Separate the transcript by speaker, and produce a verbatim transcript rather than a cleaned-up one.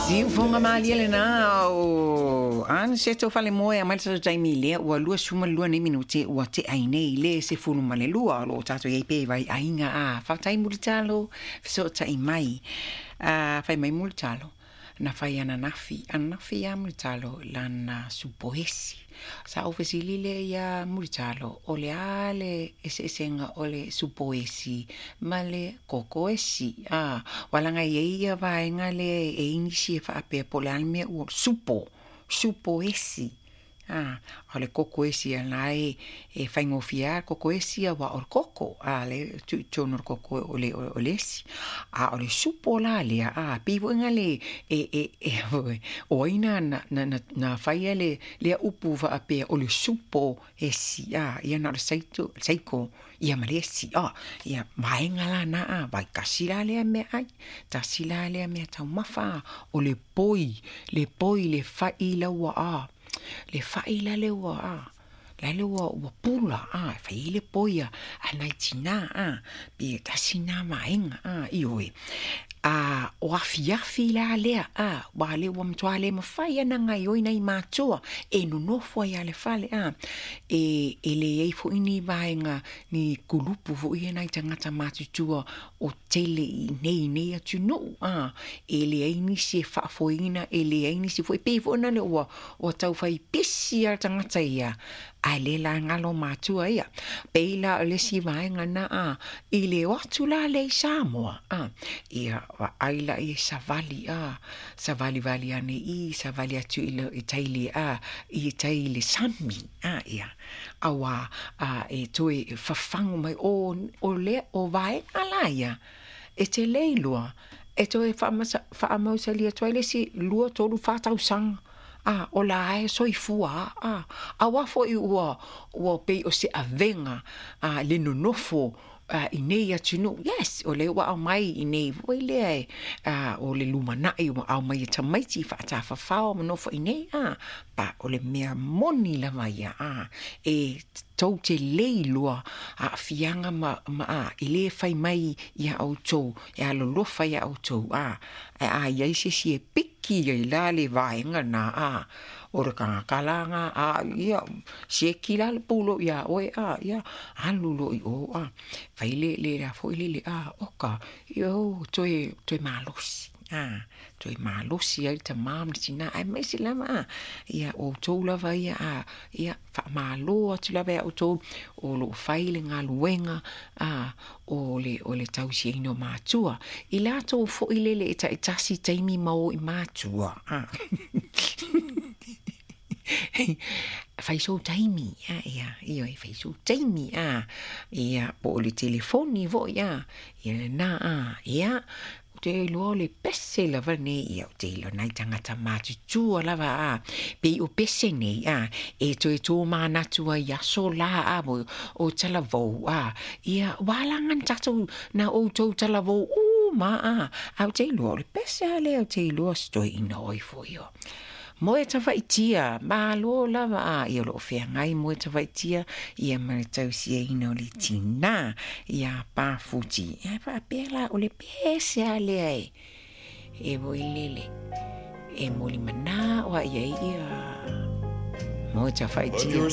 Speaker 1: Siufoga malie lenā o Aniseto Falemoe a mai le tatou taimi lea ua luasefulu ma le lua nei minute ua tea ai nei le sefulu ma le lua o loo tatou iai pea i vai aiga a faafetai Mulitalo fesootai mai a fai mai Mulitalo na fai ananafi ananafi ia Mulitalo lana supoesi sa ou fesili lea ia Mulitalo o le a le eseesega o le supoesi ma le kokoesi a ua laga e i ai ia vaega lea e i ai nisi e faapea po o le a le mea ua supo supoesi a o le koko esi a la e e faigofie lava le koko esi aua o le koko a lea e tuu i totonu o le koko o le o le esi a o le supo la lea a pei foi na le e e e o ai na na na na faia le lea upu faapea o le supo esi a ia na o le saito saiko ia ma le esi a ia vaega la na a vaitasi la lea meaai tasi la lea mea taumafa o le poi le poi le fai laua a le fai la le ua a la le ua ua pula a fai ai le poi a a nai tinā a pe tasi na vaega a ioe a o afiafi la lea a ua le ua matua le mafai ana gaoioi nai matua e nonofo ai a le fale a e e leai foi ni vaega ni kulupu foi ia nai tagata matutua o tele i nei nei atunuu a e leai nisi e faafoeina e leai nisi foi pei foi na le ua ua taufai pisi a le tagata ia ae le la galo matua ia pei la o le isi vaega na a i le o atu la lea i Samoa a ia vaai laia i savali a savalivali ane i savali atu i le i tai le a i tai i le sami a ia auā a e toe fafagu mai o o lea o vaega la ia e te le iloa e toe faamasa faamausali atu ai le isi lua tolu fa tausaga a o la e soifua a auā foi ua ua pei o se avega a le nonofo a i nei atunuu yes o lea ua aumai i nei foi lea e a o le lumanai ua aumai e tamaiti faatafafao ma nofo i nei a pa o le mea moni lava ia a e tou te le iloa aafiaga ma ma a e lē fai mai iā outou e alolofa iā outou a ae a iai se isi e piki ai la le vaega na a o le tagata la na a ia sieki la le pulou iā oe a ia alu loa i o a fai le le a foi lele a oka ia o toe toe malosi a toe malosi ai le tamā ma le tinā aemaise lava a ia outou lava ia a ia faamālō atu lava iā outou o loo fai le galuega a o le o le tausiaina o matua i latou foi lele e taitasi taimi ma o i matua a fai sou taimi a ia ioe fai sou taimi a ia po o le telefoni foi a ia lenā a ia ou te iloa o le pese lava lenei ia ou te iloa nai tagata matutua lava a pei o pese nei a e toe tomanatu ai i aso la a o talavou a ia ua alaga na tatou na outou talavou uma a ae ou te iloa o le pese a lea ou te iloa se toeaina oi foi o moe tafaitia malo lava a ia o loo feagai moe tafaitia ia ma le tausiaina o le tinā iā Pafuti ae faapea la o le pese a lea e e voi lele e molimanā o ai ai ia moe tafaitia.